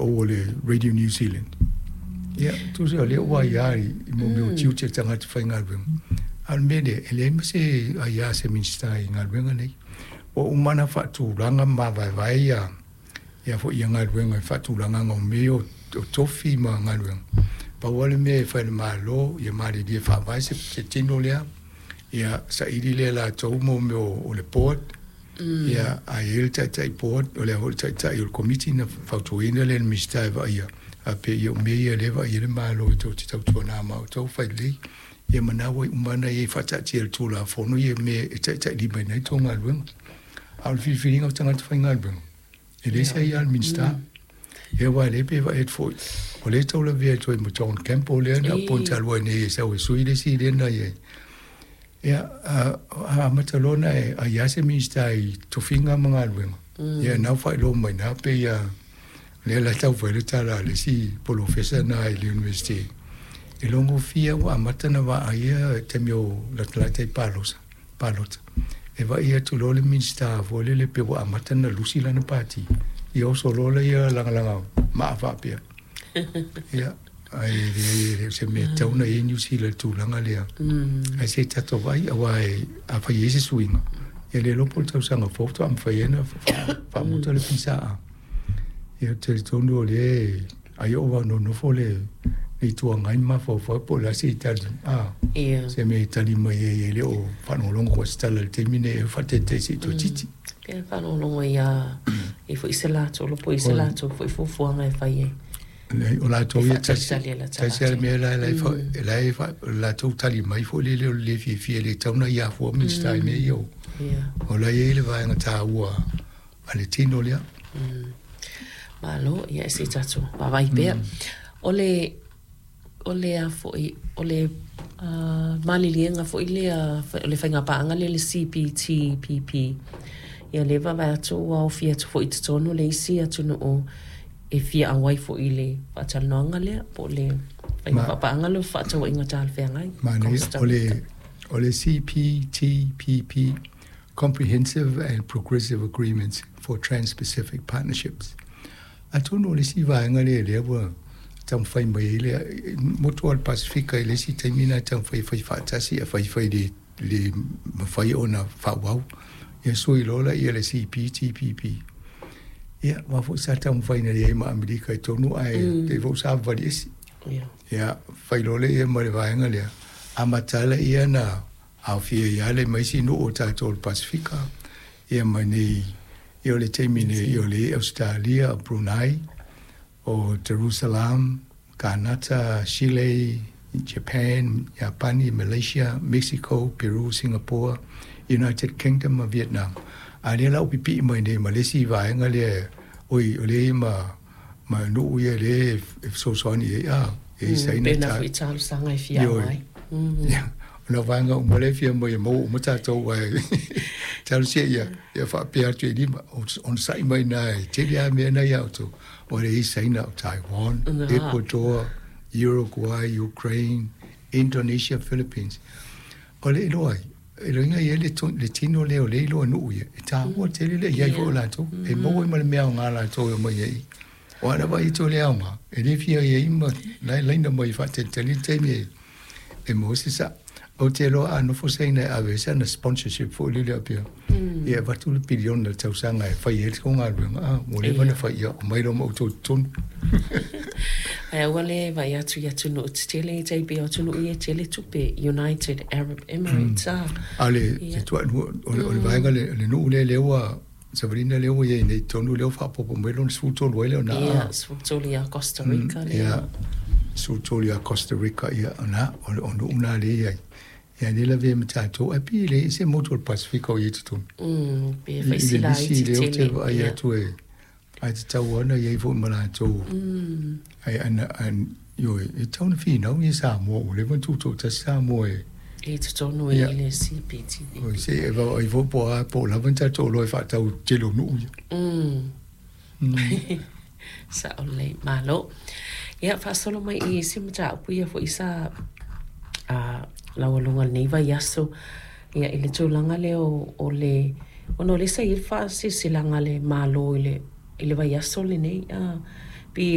O le Radio New Zealand. Ia, tusa o lea ua aia i mea o tiute o tagata faigaluega. A o le mea lea, e leai ma se aia a se Minisita i galuega nei. Ua uma ona faatulaga ma mavaevae ia ia foi ia galuega i faatulagaga o mea o tofi ma galuega. Pau lava le mea e fai e le Malo, ia malilie faavae se tino lea, ia saili lea e latou mea o le board, Ia, a i ai le Taitai Board, o le a foi le Taitai o le Komiti ona fautuaina lea e le Minisita e vaaia, faapea, ia o mea ia o lea e vaai ai le Malo e tou te tautuana ma outou fai lelei. Ia ma na ua uma ona i ai faataatia e le Tulafono ia mea e taitailimaina ai tou galuega. A o le filifiliga o tagata faigaluega, e leai se aia a le Minisita. Ia aua o lea pei e vaai atu foi, o lea e tau lavea atu ai ma John Campbell lea na appoint talu ai nei e sau e sui le isi lea na i ai. Ia, a amata loa ona e aia se Minisita i tofiga ma galuega, ia na ua faailoa mai i ina pei lava lea la e tau fai le tala a le isi polofesa lena i le University, e logofia ua amata ona vaaia i taimi o latalata i palosa, palota, e vaai atu loa le Minisita foi lele pei ua amata ona lusi lana pati, ia oso loa lea lagalaga maa faapea. Ia, ae leai e le o se mea e tatau ona i ai Niu Sila i le tulaga lea. Ae se i tatou vaai, aua afai e i ai se suiga, ia le iloa po o le tausaga fou faatoa mafai ai ona faamuta le PSA. Ia ou te talitonu o lea ai o nonofo le Itu Agai ma mafaufau po o le a se tali, a, se mea e tali mai ai e le o faalogologo foi se tala i le taimi lenei e faataitai se i toeitiiti. Pei e faalogologo ia i foi se latou po i se latou foi fuafuaga e fai ai. O latou ia tasi tasi lava le mea la la e latou tali mai foi lele o le le fiafia e le tatau ona ia afua Minisita i mea ia o la e i ai le vaega taua a le tino lea. Malo, ia se i tatou vaavaai pea. O le, o le a foi, o le maliliega foi lea, o le faigapaaga lea le CPTPP, ia lea e vaavaai atu ua aofia atu foi i totonu le isi atunuu e fia auai foi i le faatalanoaga lea, po o le faigapaaga lea o fefaatauaiga talafeagai. Manaia, o le, o le CPTPP Comprehensive and Progressive Agreements for Trans-Pacific Partnerships. Atonu o le isi vaega lea lea ua taumafai mai ai le motu o le Pasefika i le isi taimi na taumafai e fai faatasi ae faifai le, le mafai ona faaauau. Ia sui loa laia le CPTPP. Ia, aua foi sa taumafai na i ai ma Amerika i totonu ae pei foi sa savavali ese. Ia, fai loa lea ma le vaega lea, amata laia na aofia ai lava le ma isi nuu o tatou o le Pasefika, ia ma nei, ia o le taimi nei, ia o le Ausetalia, o Brunei, o Jerusalem, Kanata, Chile, Japan, Iapani, Malaysia, Mexico, Peru, Singapore, United Kingdom ma Vietnam. A lea la ua pipii mai nei ma le isi vaega lea, oi, o lea i ma, ma nuu ia lea e fesoasoani i ai, a, e i ai Saina. Pei ona foi talosaga e fia auai. O nā vaega uma lea e fia mai e maua uma tatou ae talosia ia, ia faapea atu e lima, onosai mai i ina e tele lava mea na ia outou. O lea e i ai Saina, o Taiwan, Ecuador, Uruguay, Ukraine, Indonesia, Philippines. O le iloa ai, e loiga i ai le tino lea o lea e iloa nuu ia, e taua tele le i ai foi o latou, e maua ai ma le mea aoga a latou e omai ai. O ana vaai atu o le aoga, e le fia i ai ma la e laina mai e faatalitali le taimi e maua se sa. Ou te iloa a nofo Saina e ave ai sana sponsorship foi lele faapea, ia e avatu le piliona i le tausaga e fai ai le tou galuega, a ua leva ona fai, ia omai loa ma outou i totonu. Ae aua le vaai atu i atunuu tetele e tai pei o atunuu ia e tele tupe, United Arab Emirates, a. A o le o le vaega le nuu lea lea ua Savalina lea ua i ai nei i totonu lea ua faaopoopo mai lona 13 ai lea o na. Ia, 13 ia Costa Rica lea. Ia, 13 ia Costa Rica, ia, o na, o nuu na lea e i ai. Ia, lea e lavea ma tatou, ae pei e leai se motu o le Pasefika o i ai i totonu. Pei e fai si laiti tele. I le lisi lea ou te vaai atu e, ae tatau lava ona i ai foi ma latou. Ae ana, ioe, e tatau ona finau ia Samoa, ua leva ona tutoatasi Samoa e. I totonu i le CPTPP. Oi, se e vaai foi po o a, po o lava ni tatou oloa e faatau i le tele o nuu ia. Sao lelei, malo. Ia, faasolo mai i isi mataupu ia foi sa laualuga i lenei vaiaso, ia i le tulaga lea o le, ona o lea sa i ai le faasilasilaga a le Malo i le vaiaso lenei,